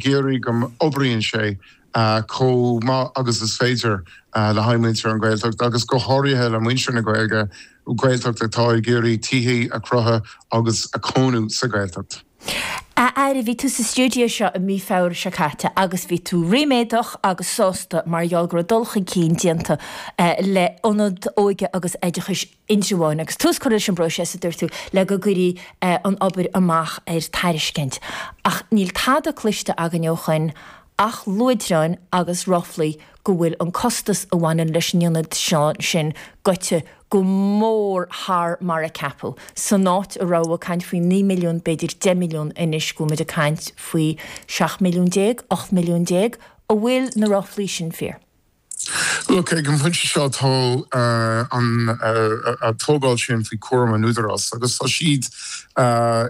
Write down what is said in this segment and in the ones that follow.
iarraidh go n-oibríonn sé chomh maith agus is féidir le haghaidh muintir an Ghaeltacht agus go háirithe le muintir na Gaeilge, Gaeltacht atá ag iarraidh tithe a chruthú agus a chónú sa Ghaeltacht. A Aire, bhí tú sa stiúideo seo i mí Feabhra seo caite agus bhí tú ríméadach agus sásta mar gheall go raibh dul chun cinn déanta le Ionad Óige agus Oideachais Indreabháin agus tús curtha leis an bpróiseas, a dúirt tú, le go gcuirfí an obair amach ar tairiscint. Ach níl tada cloiste againn ó shoin ach luaidreáin agus ráflaí go bhfuil an costas a bhaineann leis an ionad sin goite go mór thar mar a ceapadh. San áit a raibh ag caint faoi 9 milliún, b'fhéidir 10 milliún, anois go bhfuil muid ag caint faoi 17 milliún, 18 milliún. An bhfuil na ráflaí sin fíor? Look, ag an bpointe seo tá an tógáil sin faoi chúram an Údarás agus tá siad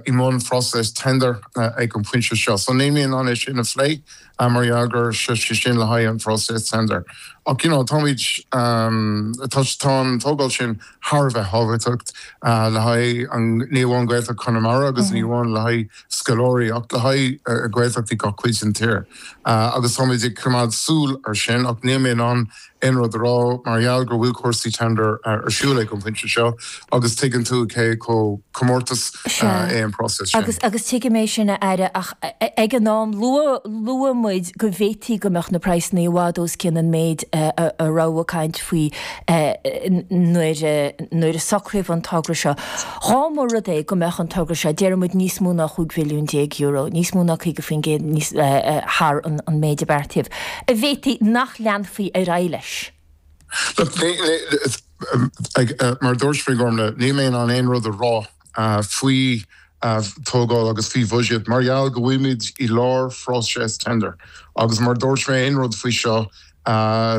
i mbun phróiseas tender ag an bpointe seo. So níl mé in ann é sin a phlé mar gheall go bhfuil sé sin le haghaidh an phróiseas tender. Ach you know táimid, tá tá an tógáil sin thar a bheith thábhachtach le haghaidh an, ní amháin Gaeltacht Chonamara agus ní amháin le haghaidh scoláirí ach le haghaidh Gaeltachtaí gach cuid den tír. Agus táimid ag coimeád súil ar sin ach níl mé in ann aon rud a rá mar gheall go bhfuil cúrsaí tender ar siúl ag an bpointe seo agus tuigeann tú cé chomh comórtas é an próiseas sin. Agus agus tuigim é sin a Aire ach ag an am luaigh luaigh muid go bhféadfaí go mbeadh na praghsanna i bhfad os cionn an méid a raibh ag caint faoi nuair nuair a socraíodh an togra seo. Dhá mba rud é go mbeadh an togra seo, déarfaidh muid níos mó ná €15 bhilliún, níos mó ná 50% níos thar an méid a beartaíodh, an bhféadfaí nach leanfaí ar aghaidh leis? Look, mar a dúirt mé, Gormlaith, níl mé in ann aon rud a rá faoi tógáil agus faoi bhuiséad mar gheall go bhfuilimid i lár phróiseas tender agus mar a dúirt mé aon rud faoi seo,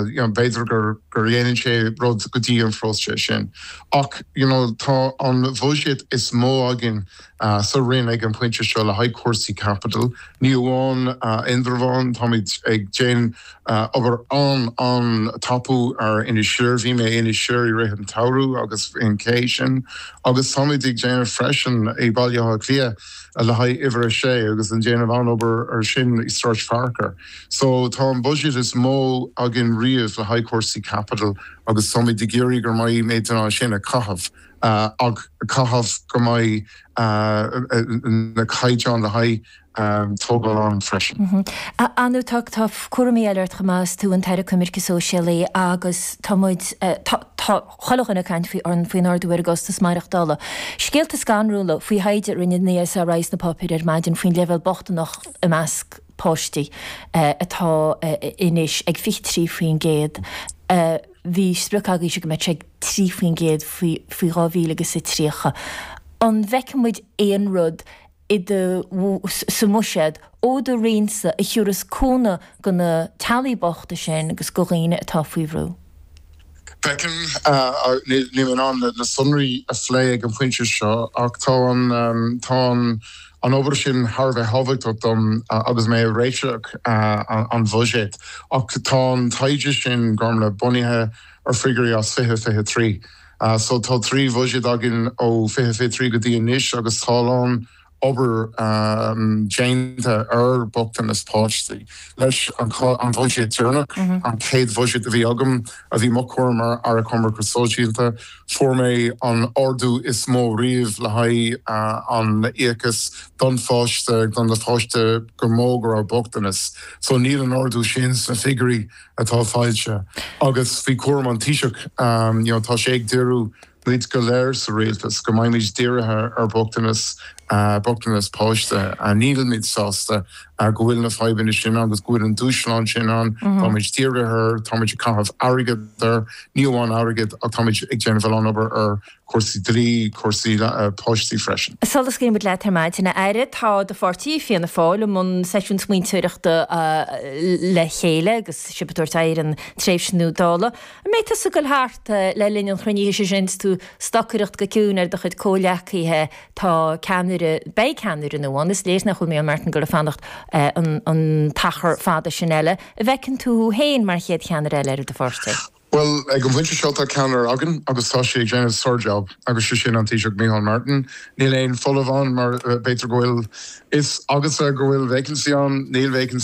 you know, b'fhéidir gur gur dhéanann sé rud go dtí an phróiseas sin. Ach, you know, tá an bhuiséad is mó againn sa Roinn ag an pointe seo le haghaidh cúrsaí caipitil. Ní amháin Indreabhán, táimid ag déanamh obair an-an-tapaidh ar Inis Oírr. Bhí mé in Inis Oírr i rith an tsamhraidh agus an cé sin. Agus táimid ag déanamh freisin i Baile Átha Cliath le haghaidh uimhir a sé agus ag déanamh an-obair ar sin i Sráid Fearchair. So tá an budget is mó againn riamh le haghaidh cúrsaí caipitil agus táimid ag iarraidh go mbeidh muid in ann sin a chaitheamh ach caitheamh go mbeidh na caighdeáin le haghaidh tógáil ann freisin. Ar ndóigh tá tá cúraimí eile ort chomh maith is tú an tAire Coimirce Sóisialaí agus tá muid tá tá chuile dhuine ag caint faoi faoin ardú ar an gcostas maireachtála. Scéalta scanrúla faoi thaighde a rinne an ESRI sna páipéir ar maidin faoin leibhéal bochtaineacht i measc páistí atá anois ag 23%. Bhí sprioc agaibhse go mbeadh sé ag 3% faoi faoi 2000 agus a 30. An bhfeicfidh muid aon rud i do, sa mbuiséad ó do Roinnse a thiúrfas cúnamh go na teaghlaigh bochta sin agus go dhaoine atá faoi bhrú? Feicim, níl mé in ann na sonraí a phlé ag an phointe seo, ach tá an, tá an obair sin thar a bheith tábhachtach dom agus mé ag réiteach an bhuiséid. Ach tá an taighde sin, Gormlaith, bunaithe ar figiúirí as 2023. So tá 3 bhuiséad againn ó 2023 go dtí anois agus tá a lán obair déanta ar bhochtanas páistí. Leis an bhuiséad deireanach, an chéad bhuiséad a bhí agam, a bhí mo chúram mar Aire Coimirce Sóisialta, fuair mé an ardú is mó riamh le haghaidh an íocas don pháiste, don na pháiste go mó go raibh bochtanas. So níl an ardú sin sna figiúirí atá foilsithe. Agus faoi chúram an Taoiseach, you know, tá sé ag díriú muid go léir sa rialtas, go mbeimid dírithe ar bhochtanas, bochtanas páiste. Nílimid sásta go bhfuil na fadhbanna sin ann agus go bhfuil an dúshlán sin ann. Táimid dírithe air, táimid ag caitheamh airgead air, ní amháin airgead ach táimid ag déanamh a lán obair ar chúrsaí dlí, cúrsaí páistí freisin. Sula scaoilfidh muid leat ar maidin, a Aire, tá do pháirtí, Fianna Fáil, i mbun seisiún smaointeoireachta le chéile agus sibh ag tabhairt aghaidh ar an tréimhse nua Dála. An mbeidh tusa ag goil thart le linn an chruinnithe sin is tú ag stocaireacht go ciúin ar do chuid comhghleacaithe? Tá ceannaire, beidh ceannaire nua ann, is léir nach bhfuil Micheál Martin ag goil ag fanacht an t-achar fada sin eile. An bhfeiceann tú thú féin mar chéad cheannaire eile ar do pháirtí? Bhuel, ag an bpointe seo tá ceannaire againn agus tá sé ag déanamh sár-jab agus sé sin an Taoiseach Micheál Martin. Níl aon folamh ann mar b'fhéidir go bhfuil fhios agatsa go bhfuil vacancy ann, níl vacancy.